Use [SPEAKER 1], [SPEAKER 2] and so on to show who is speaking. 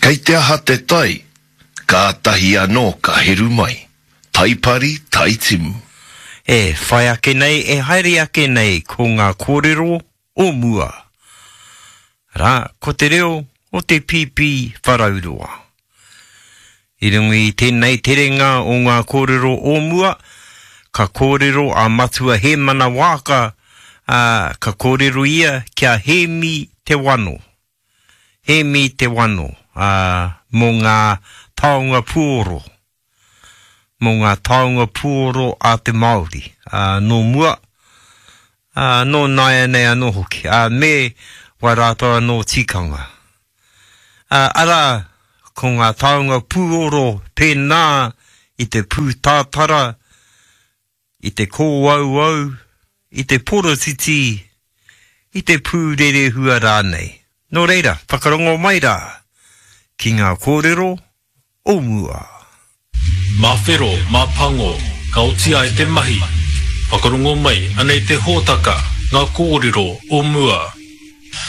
[SPEAKER 1] Kei te aha te tai, kātahi anō ka heru mai. Tai pari, tai timu.
[SPEAKER 2] E whai ake nei, e haere ake nei ko ngā kōrero o mua. Arā, ko te reo o te pīpī wharauroa. I runga i tēnei terenga o ngā kōrero o mua, ka kōrero a Matua Hēmana Waaka, ā, ka kōrero ia ki a Hēmi Te Wano. Hēmi Te Wano, ā, mō ngā taonga puoro, mō ngā taonga puoro a te Māori, ā, nō mua, ā, nō nāianei anō hoki, ā, me wā rātou anō tikanga. Ā, arā, ko ngā taonga puoro pēnā i te pūtātara, i te kōauau, i te porotiti, i te pūrerehua rānei. Nō reira, whakarongo mai rā ki ngā kōrero o mua.
[SPEAKER 3] Mā whero, mā pango, ka oti ai te mahi. Whakarongo mai, anei te hōtaka, ngā kōrero o mua.